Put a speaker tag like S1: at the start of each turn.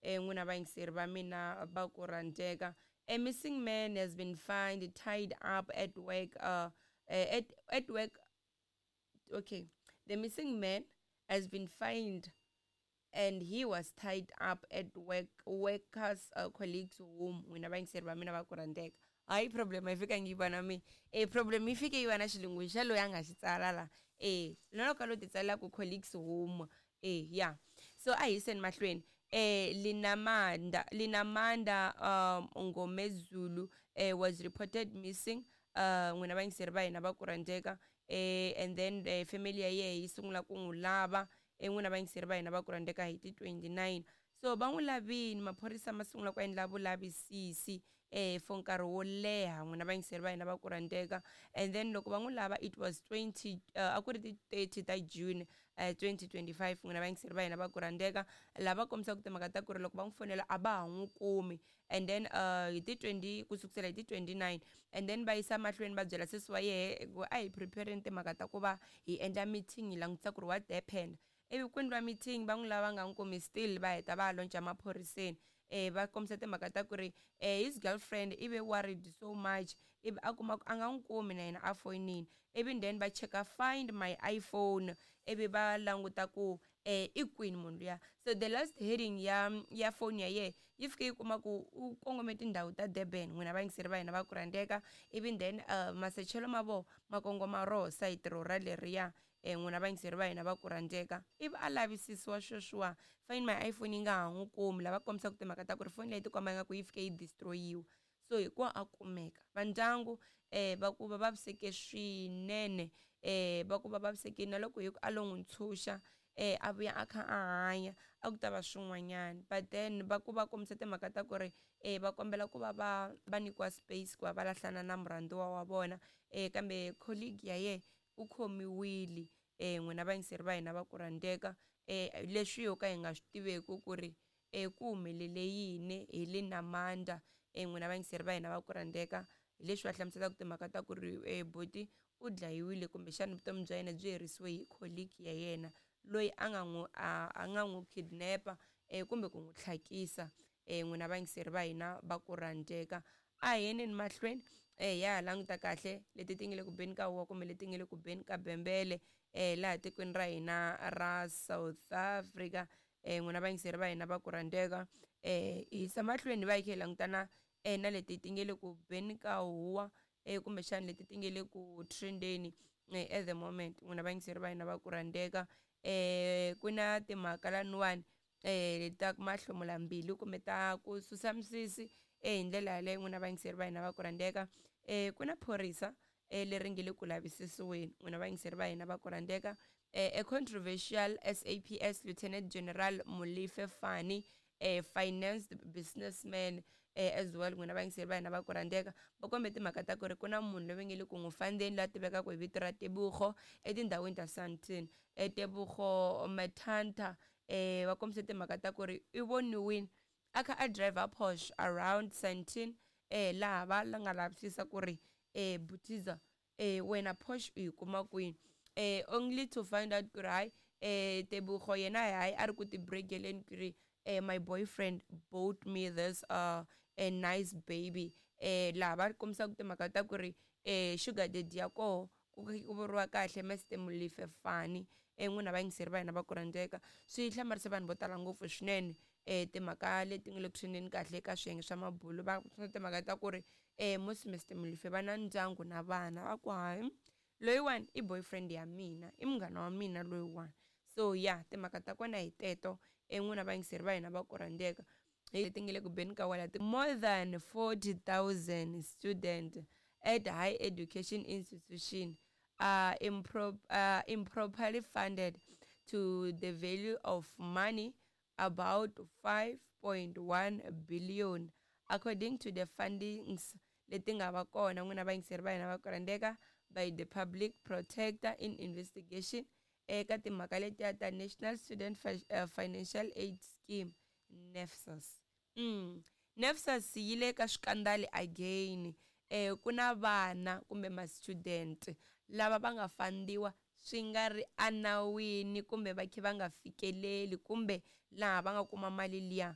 S1: N'wina vayingiseri va mina va ku rhandzeka, a missing man has been found tied up at work, at work. Okay, the missing man has been found and he was tied up at work workers colleagues home. N'wina vayingiseri va mina va ku rhandzeka, hayi, problem a yi fikangi yi va na mina. E problem yi fike yi va na xilungu xa loyi a nga xi tsala la. E na loko a lo ti tsalela ku colleagues home. E ya, so a hi yiseni mahlweni. Linamanda Ngomezulu was reported missing, n'wina vayingiseri va hina va ku rhandzeka. And then family ya yehe yi sungula ku n'wi lava, n'wina vayingiseri va hina va ku rhandzeka, hi ti 29. So va n'wi lavini, maphorisa ma sungula ku endla vulavisisi for nkarhi wo leha, n'wina vayingiseri va hina va ku rhandzeka. And then loko va n'wi lava, it was 20, a ku ri ti 30 ta June 2025, n'wina vayingiseri va hina va ku rhandzeka. Lava kombisaka timhaka ta ku ri loko va n'wi fonela a va ha n'wi kumi. And then hi ti 20, ku sukusela hi ti 29, and then va yisa mahlweni va byela sesi wa yehe ku a hi prepareni timhaka ta ku va hi endla meeting, hi langutisa ku ri what happened. Ivi ku endliwa meeting, va n'wi lava nga n'wi kumi still, va heta va ya lonca maphoriseni. Va kombisa timhaka ta ku ri his girlfriend i ve worried so much, ivi a kuma ku a nga n'wi kumi na yena a foyinini. Ivi then va cheka Find My iPhone, ivi va languta ku i kwini munhu luya. So the last heading ya phone ya yehe yi fike yi kuma ku u kongome tindhawu ta Durban, n'wina vayingiseri va hina va ku rhandzeka. Ivi then masechelo ma voho ma kongoma roho sayiti ro ra leriya, n'wina vayingiseri va hina va ku rhandzeka. Ivi a lavisisiwa sweswiwa, Find My iPhone yi nga ha n'wi kumi. Lava kombisaka timhaka ta ku ri foni leyi tikomba ingaku yi fike yi destroyiwa. So hi ku a kumeka, vandyangu va ku va vaviseke swinene. Va ku va vavisekile na loko hi ku a lo n'wi ntshunxa, a vuya a kha a hanya, a ku ta va swin'wanyana. But then va ku va kombisa timhaka ta ku ri va kombela ku va va nyikiwa space ku va va lahlana na murhandziwa wa vona. Kambe colleague ya yena u khomiwile, n'wina vayingiseri va hina va ku rhandzeka. Leswi ho ka hi nga swi tiveki ku ri ku humelele yini hi Linamanda, n'wina vayingiseri va hina va ku rhandzeka. Hi leswi va hlamuselaka timhaka ta ku ri buti u dlayiwile, kumbexana vutomi bya yena byi herisiwe hi colleague ya yena loyi a nga n'wi a nga n'wi kidnapa kumbe ku n'wi tlhakisa, n'wina vayingiseri va hina va ku rhandzeka. A hi yeneni mahlweni, ya ha languta kahle leti ti nga le ku beni ka huwa kumbe leti nga le ku beni ka bembele laha tikweni ra hina ra South Africa, n'wina vayingiseri va hina va ku rhandzeka. Hi yisa mahlweni va hi kha hi langutana na leti ti nga le ku beni ka huwa, kumbexana leti ti nga le ku trendeni at the moment, n'wina vayingiseri va hina va ku rhandzeka. Ku na timhaka laniwani ta mahlomula mbilu kumbe ta ku susa misisi hi ndlela yaleyo, n'wina vayingiseri va hina va ku rhandzeka. Ku na phorisa leri nge le ku lavisisiweni, n'wina vayingiseri va hina va ku rhandzeka. A controversial SAPS Lieutenant General Molefe Fani, a financed businessman as well, n'wina vayingiseri va hina va ku rhandzeka. Va kombe timhaka ta ku ri ku na munhu loyi nge le ku n'wi fandeni la tivekaka hi vito ra Tebogo etindhawini ta Sandton, Tebogo Matanta. Va kombise timhaka ta ku ri i voniwile a kha a driver Porsche around Sandton, laha va nga lavisisa ku ri butiza, wena Porsche u yi kuma kwini? Only to find out ku ri hayi, Tebogo yena hayi, a ri ku tibregeleni ku ri my boyfriend bought me this a nice baby. Laha va kombisaka timhaka ta ku ri sugar daddy ya koho ku vuriwa kahle Mr Molefe Fani, n'wina vayingiseri va hina va ku rhandzeka. Swi hlamarise vanhu vo tala ngopfu swinene, timhaka leti nga le ku trendeni kahle eka swiyenge swa mabulo. Va timhaka ta ku ri musi Mr Molefe va na ndyangu na vana, va ku hayi, loyiwani i boyfriend ya mina, i munghana wa mina loyiwani. So ya timhaka ta kona hi teto, n'wina vayingiseri va hina va ku rhandzeka. Leti nga le ku beni ka wala, more than 40,000 student at high education institution are improperly funded to the value of money about 5.1 billion, according to the findings leti nga va kona, n'wina vayingiseri va hina va ku rhandzeka, by the public protector in investigation eka timhaka letiya ta National Student Financial Aid Scheme, NSFAS. NSFAS yi le ka swikandali again. Ku na vana kumbe ma-student lava va nga fandiwa swi nga ri enawini kumbe va kha va nga fikeleli kumbe laha va nga kuma mali liya.